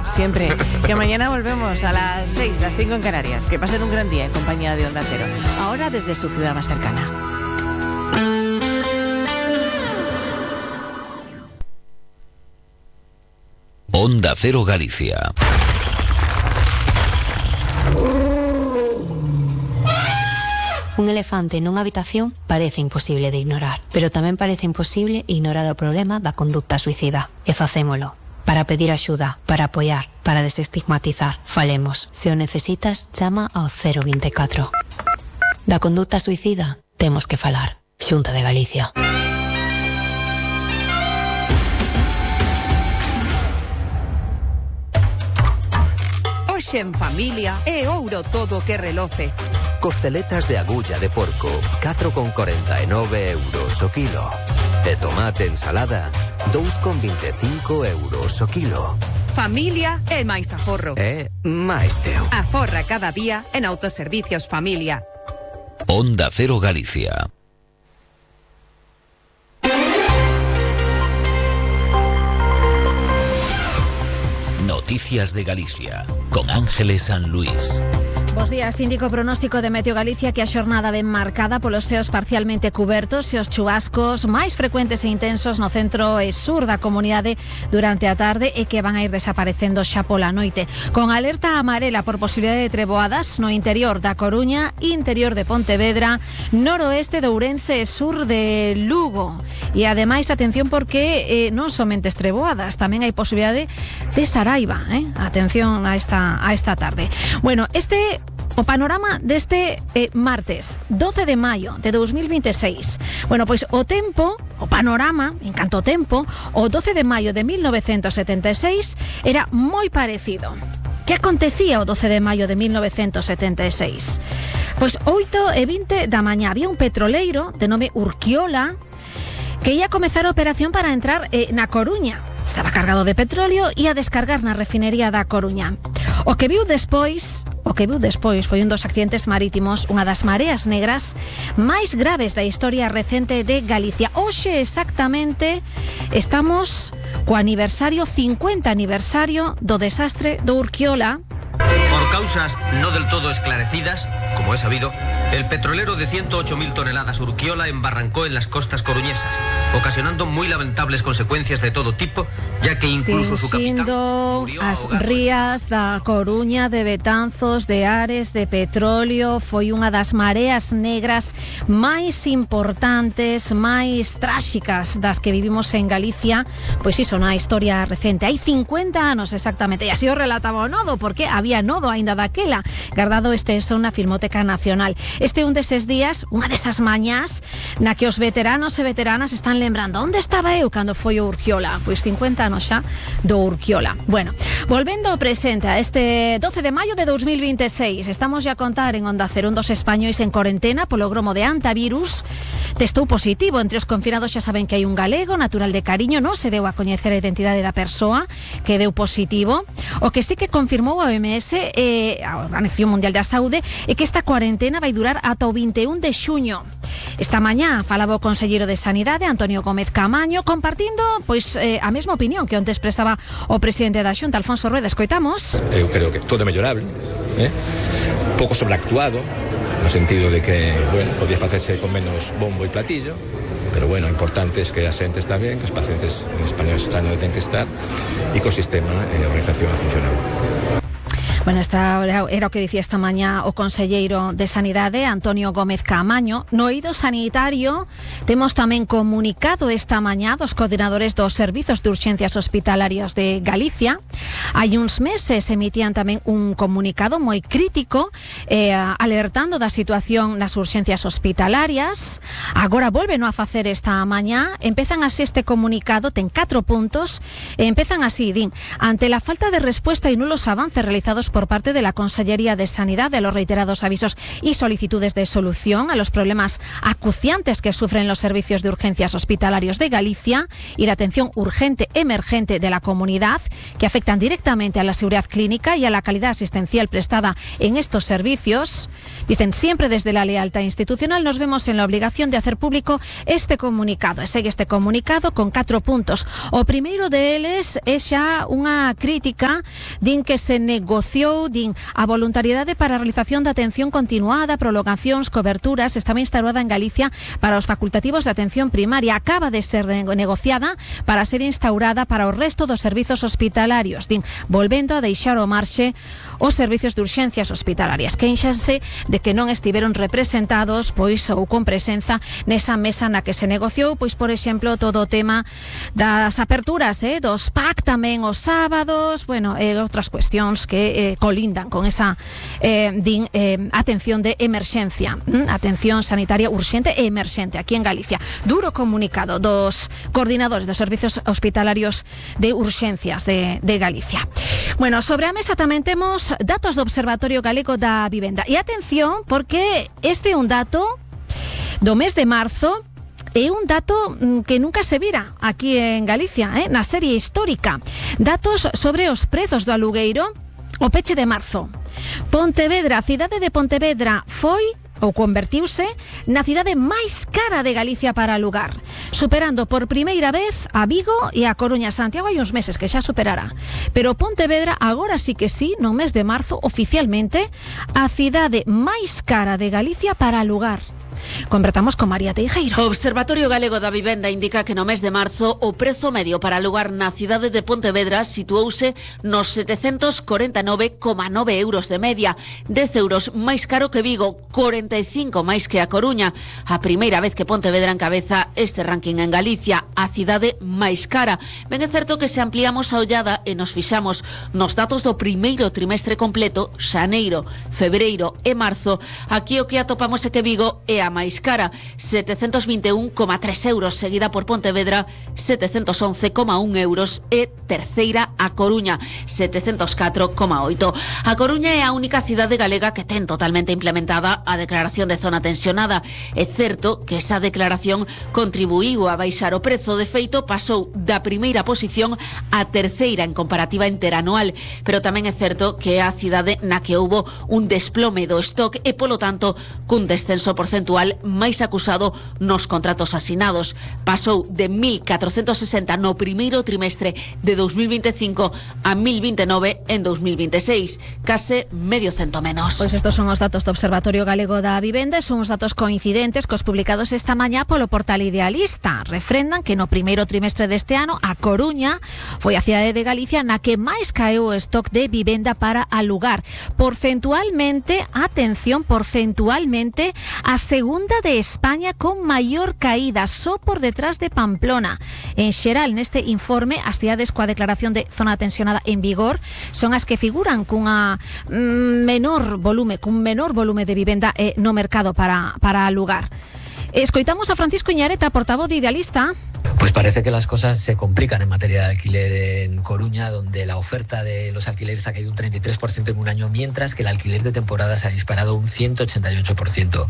siempre. Que mañana volvemos a las 6, las 5 en Canarias. Que pasen un gran día en compañía de Onda Cero. Ahora desde su ciudad más cercana. Onda Cero Galicia. Un elefante nunha habitación parece imposible de ignorar, pero tamén parece imposible ignorar o problema da conducta suicida. E facémolo. Para pedir axuda, para apoiar, para desestigmatizar. Falemos. Se o necesitas, chama ao 024. Da conduta suicida, temos que falar. Xunta de Galicia. Hoxe en familia é ouro todo que reloce. Costeletas de agulla de porco, 4,49 euros o kilo. E tomate ensalada, 2,25 euros o kilo. Familia é máis aforro. É máis teo. Aforra cada día en Autoservicios Familia. Onda Cero Galicia. Noticias de Galicia, con Ángeles San Luis. Bos días, indico pronóstico de Meteo Galicia que a xornada ven marcada polos ceos parcialmente cubertos e os chubascos máis frecuentes e intensos no centro e sur da comunidade durante a tarde e que van a ir desaparecendo xa pola noite. Con alerta amarela por posibilidade de treboadas no interior da Coruña, interior de Pontevedra, noroeste de Ourense e sur de Lugo. E ademais, atención porque non somente treboadas, tamén hai posibilidade de Saraiva. Atención a esta tarde. Bueno, o panorama deste martes 12 de maio de 2026. Bueno, pois o tempo, o panorama, en canto ao tempo, o 12 de maio de 1976 era moi parecido. Que acontecía o 12 de maio de 1976? Pois 8:20 da mañá había un petroleiro de nome Urquiola que ia comezar a operación para entrar na Coruña. Estaba cargado de petróleo e a descargar na refinería da Coruña. O que viu despois foi un dos accidentes marítimos, unha das mareas negras máis graves da historia recente de Galicia. Hoxe exactamente estamos co 50 aniversario do desastre do Urquiola. Por causas no del todo esclarecidas, como es sabido, el petrolero de 108.000 toneladas Urquiola embarrancó en las costas coruñesas, ocasionando muy lamentables consecuencias de todo tipo, ya que incluso su capitán murió as ahogado. rías da Coruña, de Betanzos, de Ares, de petróleo, foi unha das mareas negras máis importantes, máis tráxicas das que vivimos en Galicia, pois iso na historia recente. Hai 50 anos exactamente, e así o relataba o Nodo, porque había Nodo aínda daquela, guardado son na Filmoteca Nacional. Este é un deses días, unha desas mañás, na que os veteranos e veteranas están lembrando onde estaba eu cando foi o Urquiola. Pois 50 anos xa do Urquiola. Bueno, volvendo ao presente, a este 12 de maio de 2026, estamos a contar en Onda Cero un dos españois en cuarentena polo gromo de antivirus. Testou positivo. Entre os confinados xa saben que hai un galego, natural de Cariño, non se deu a coñecer a identidade da persoa que deu positivo. O que sí que confirmou a OMS, a Organización Mundial da Saúde, é que esta cuarentena vai durar ata o 21 de xuño. Esta mañá falaba o conselleiro de Sanidade, Antonio Gómez Caamaño, compartindo pois a mesma opinión que onte expresaba o presidente da Xunta, Alfonso Rueda. Escoitamos. Eu creo que todo é mellorable, pouco sobreactuado, no sentido de que, bueno, podía facerse con menos bombo e platillo, pero bueno, o importante é que a xente está ben, que os pacientes en español están onde ten que estar e que o sistema e a organización ha funcionado. Bueno, esta era o que dicía esta mañá o conselleiro de Sanidade, Antonio Gómez Caamaño. No eido sanitario temos tamén comunicado esta mañá dos coordinadores dos servizos de urxencias hospitalarias de Galicia. Hai uns meses emitían tamén un comunicado moi crítico alertando da situación nas urxencias hospitalarias. Agora volven a facer esta mañá. Empezan así este comunicado, ten 4 puntos, e empezan así, din: ante la falta de respuesta y nulos avances realizados por parte de la Consellería de Sanidad de los reiterados avisos y solicitudes de solución a los problemas acuciantes que sufren los servicios de urgencias hospitalarios de Galicia y la atención urgente emergente de la comunidad, que afectan directamente directamente a la seguridad clínica y a la calidad asistencial prestada en estos servicios. Dicen, siempre desde la lealtad institucional nos vemos en la obligación de hacer público este comunicado. E segue este comunicado con 4 puntos. O primeiro deles é xa unha crítica, din que se negociou, din, a voluntariedade para a realización da atención continuada, prolongacións, coberturas, estaba instaurada en Galicia para os facultativos de atención primaria. Acaba de ser negociada para ser instaurada para o resto dos servizos hospitalarios. Din, volvendo a deixar ao marxe os servizos de urxencias hospitalarias. Queixanse de que non estiveron representados, pois, ou con presenza nesa mesa na que se negociou, pois, por exemplo, todo o tema das aperturas, dos PAC tamén os sábados, bueno, outras cuestións que colindan con esa atención de emerxencia, atención sanitaria urxente e emerxente aquí en Galicia. Duro comunicado dos coordinadores dos servizos hospitalarios de urxencias de Galicia. Bueno, sobre a mesa tamén temos datos do Observatorio Galego da Vivenda. E atención, porque este é un dato do mes de marzo, é un dato que nunca se vira aquí en Galicia, na serie histórica. Datos sobre os prezos do alugueiro o peche de marzo. Pontevedra, a cidade de Pontevedra foi ou convertiuse na cidade máis cara de Galicia para alugar, superando por primeira vez a Vigo e a Coruña. Santiago hai uns meses que xa superará, pero Pontevedra agora sí que sí, no mes de marzo, oficialmente a cidade máis cara de Galicia para alugar. Convertamos con María Teijeiro. O Observatorio Galego da Vivenda indica que no mes de marzo o prezo medio para alugar na cidade de Pontevedra situouse nos 749,9 euros de media, 10 euros máis caro que Vigo, 45 máis que a Coruña. A primeira vez que Pontevedra encabeza este ranking en Galicia, a cidade máis cara. Ben é certo que se ampliamos a ollada e nos fixamos nos datos do primeiro trimestre completo, xaneiro, febreiro e marzo, aquí o que atopamos é que Vigo é a máis cara, 721,3 euros, seguida por Pontevedra, 711,1 euros, e terceira a Coruña, 704,8. A Coruña é a única cidade galega que ten totalmente implementada a declaración de zona tensionada. É certo que esa declaración contribuiu a baixar o prezo, de feito pasou da primeira posición a terceira en comparativa interanual, pero tamén é certo que é a cidade na que houbo un desplome do stock e, polo tanto, cun descenso porcentual máis acusado nos contratos asinados. Pasou de 1.460 no primeiro trimestre de 2025 a 1.029 en 2026, case medio cento menos. Pois estos son os datos do Observatorio Galego da Vivenda, son os datos coincidentes cos publicados esta mañá polo portal Idealista. Refrendan que no primeiro trimestre deste ano a Coruña foi a cidade de Galicia na que máis caeu o stock de vivenda para alugar. Porcentualmente, atención, porcentualmente, a segunda de España con maior caída, só por detrás de Pamplona. En xeral, neste informe, as cidades coa declaración de zona tensionada en vigor son as que figuran cun menor volume de vivenda no mercado para alugar. Escoitamos a Francisco Iñareta, portavoz de Idealista. Pues parece que las cosas se complican en materia de alquiler en Coruña, donde la oferta de los alquileres ha caído un 33% en un año, mientras que el alquiler de temporada se ha disparado un 188%.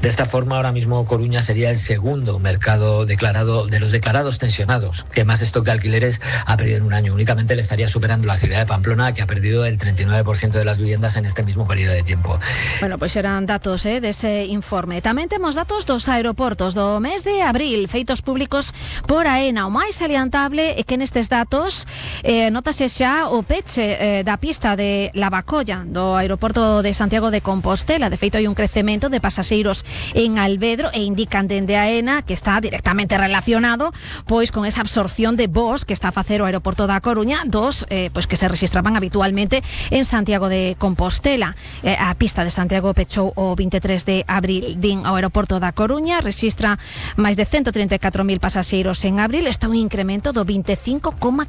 De esta forma, ahora mismo Coruña sería el segundo mercado declarado de los declarados tensionados que más stock de alquileres ha perdido en un año. Únicamente le estaría superando la ciudad de Pamplona, que ha perdido el 39% de las viviendas en este mismo periodo de tiempo. Bueno, pois eran datos dese informe. Tamén temos datos dos aeroportos do mes de abril, feitos públicos por AENA. O máis salientable é que nestes datos notase xa o peche da pista de Lavacolla do aeroporto de Santiago de Compostela. De feito, hai un crecemento de pasaxeiros en Alvedro e indican dende AENA que está directamente relacionado pois con esa absorción de voos que está a facer o aeroporto da Coruña dos pois que se registraban habitualmente en Santiago de Compostela. A pista de Santiago pechou o 23 de abril. Din ao aeroporto da Coruña registra máis de 134.000 pasaxeiros en abril, isto é un incremento do 25,4%.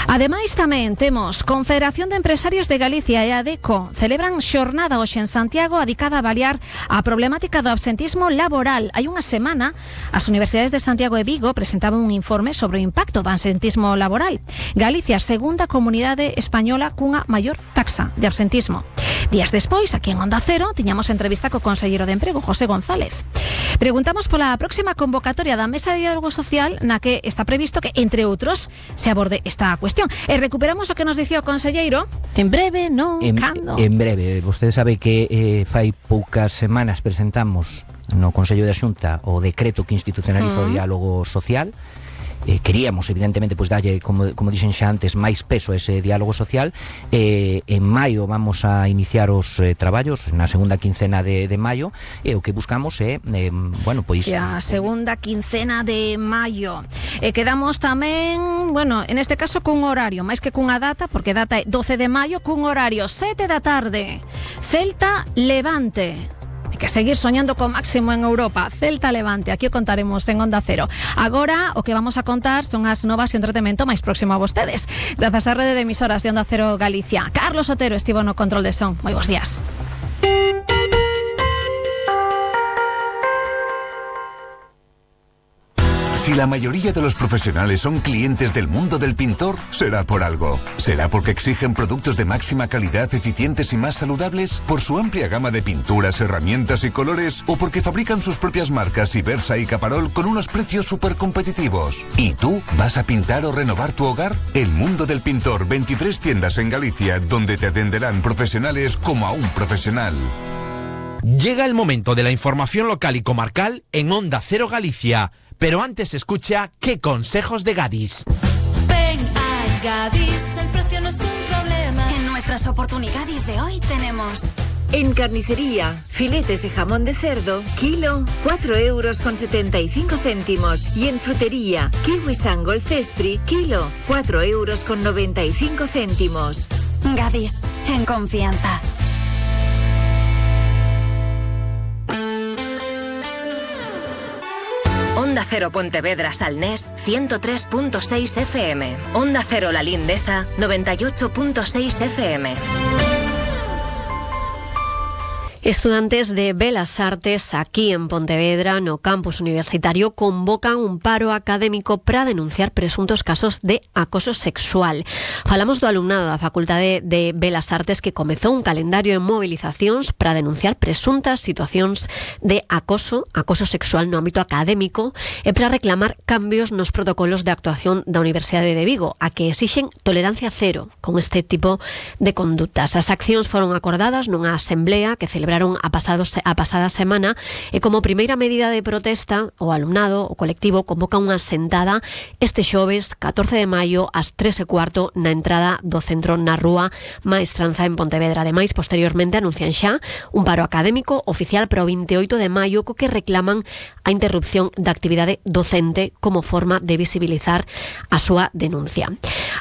Ademais, tamén temos Confederación de Empresarios de Galicia e ADECO celebran xornada hoxe en Santiago dedicada a avaliar a problemática do absentismo laboral. Hai unha semana, as universidades de Santiago e Vigo presentaban un informe sobre o impacto do absentismo laboral. Galicia, segunda comunidade española cunha maior taxa de absentismo. Días despois, aquí en Onda Cero, tiñamos entrevista co conselleiro de Emprego, José González. Preguntamos pola próxima convocatoria da Mesa de Diálogo Social na que está previsto que, entre outros, se aborde esta cuestión. E recuperamos o que nos dicía o conselleiro. En breve, non? Cando? En breve. Vostede sabe que fai poucas semanas presentamos no Consello da Xunta o decreto que institucionaliza o diálogo social. Queríamos, evidentemente, pues dalle, como dixen xa antes, máis peso a ese diálogo social. En maio vamos a iniciar os traballos, na segunda quincena de maio, e o que buscamos é, bueno, pois... A segunda quincena de maio. Quedamos tamén, bueno, en este caso cun horario, máis que cunha data, porque data é 12 de maio, cun horario 7 da tarde. Celta Levante. Hai que seguir soñando co máximo en Europa. Celta Levante, aquí o contaremos en Onda Cero. Agora o que vamos a contar son as novas e entretemento máis próximo a vostedes, grazas á rede de emisoras de Onda Cero Galicia. Carlos Otero estivo no control de son. Moi bons días. Si la mayoría de los profesionales son clientes del mundo del pintor, será por algo. ¿Será porque exigen productos de máxima calidad, eficientes y más saludables? ¿Por su amplia gama de pinturas, herramientas y colores? ¿O porque fabrican sus propias marcas Ibersa y Caparol con unos precios súper competitivos? ¿Y tú vas a pintar o renovar tu hogar? El mundo del pintor, 23 tiendas en Galicia, donde te atenderán profesionales como a un profesional. Llega el momento de la información local y comarcal en Onda Cero Galicia. Pero antes escucha ¿Qué consejos de Gadis? Ven a Gadis, el precio no es un problema. En nuestras oportunidades de hoy tenemos... En carnicería, filetes de jamón de cerdo, kilo, 4,75 €. Y en frutería, kiwi Sangol Cespri, kilo, 4,95 €. Gadis, en confianza. Onda Cero Pontevedra Salnés, 103.6 FM. Onda Cero La Lindeza, 98.6 FM. Estudantes de Belas Artes aquí en Pontevedra, no campus universitario, convocan un paro académico para denunciar presuntos casos de acoso sexual. Falamos do alumnado da Facultade de Belas Artes que comezou un calendario de movilizacións para denunciar presuntas situacións de acoso sexual no ámbito académico e para reclamar cambios nos protocolos de actuación da Universidade de Vigo, a que exixen tolerancia cero con este tipo de condutas. As accións foron acordadas nunha asamblea que celebraron a pasada semana e como primeira medida de protesta o alumnado, o colectivo, convoca unha sentada este xoves 14 de maio ás 3:15 na entrada do centro na rúa Maestranza en Pontevedra. Ademais, posteriormente anuncian xa un paro académico oficial para o 28 de maio co que reclaman a interrupción da actividade docente como forma de visibilizar a súa denuncia.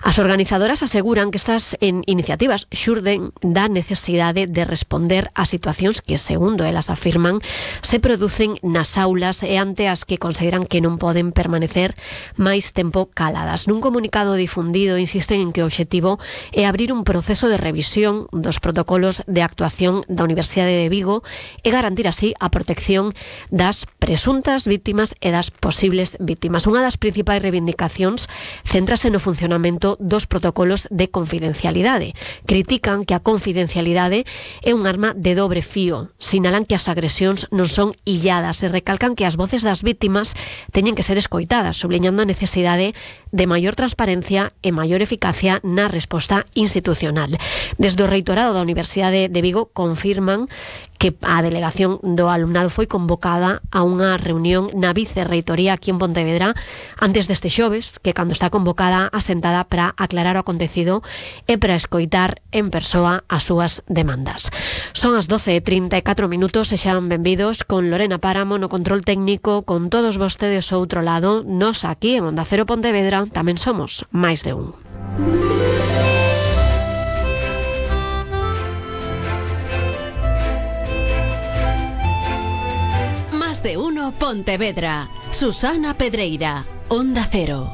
As organizadoras aseguran que estas iniciativas xurden da necesidade de responder a situacións que, segundo elas afirman, se producen nas aulas e ante as que consideran que non poden permanecer máis tempo caladas. Nun comunicado difundido insisten en que o obxectivo é abrir un proceso de revisión dos protocolos de actuación da Universidade de Vigo e garantir así a protección das presuntas víctimas e das posibles víctimas. Unha das principais reivindicacións céntrase no funcionamento dos protocolos de confidencialidade. Critican que a confidencialidade é un arma de dobre fío. Sinalan que as agresións non son illadas e recalcan que as voces das víctimas teñen que ser escoitadas, subliñando a necesidade de maior transparencia e maior eficacia na resposta institucional. Desde o reitorado da Universidade de Vigo confirman que a delegación do alumnado foi convocada a unha reunión na vicerreitoría aquí en Pontevedra antes deste xoves, que cando está convocada a sentada para aclarar o acontecido e para escoitar en persoa as súas demandas. Son as 12:34 minutos e xan benvidos con Lorena Páramo no control técnico, con todos vostedes ao outro lado. Nos aquí en Onda Cero Pontevedra tamén somos máis de un. Más de uno Pontevedra. Susana Pedreira, Onda Cero.